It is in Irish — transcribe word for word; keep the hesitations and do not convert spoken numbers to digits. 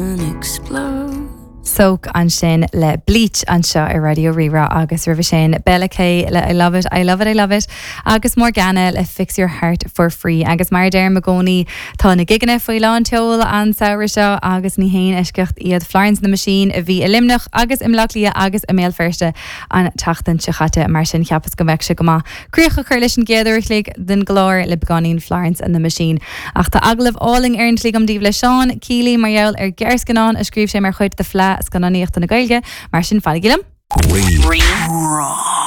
Explode. Soak ansin le Bleach anseo ar Raidió Rí-Rá agus roimhe sin Bella K le I love it, I love it, I love it agus Morgana le Fix Your Heart for Free agus mar deirim i gcónaí tá na gigeanna faoi lán tseoil an samhradh seo agus ní haon eisceacht iad Florence and the Machine a bhí i Luimneach agus i mBaile Átha Cliath agus i mBéal Feirste an tseachtain seo caite mar sin cheapas go mbeadh sé go maith. Críoch a chur leis an gcéad uair an chloig den gclár le beagáinín Florence and the Machine. Ach tá agallamh álainn ar an tslí agam daoibh le Seán Keely mar gheall ar ghearrscannán a scríobh sé mar chuid de Fleadh Scannánaíochta na Gaeilge, mar sin fanaigí liom. Rí-Rá.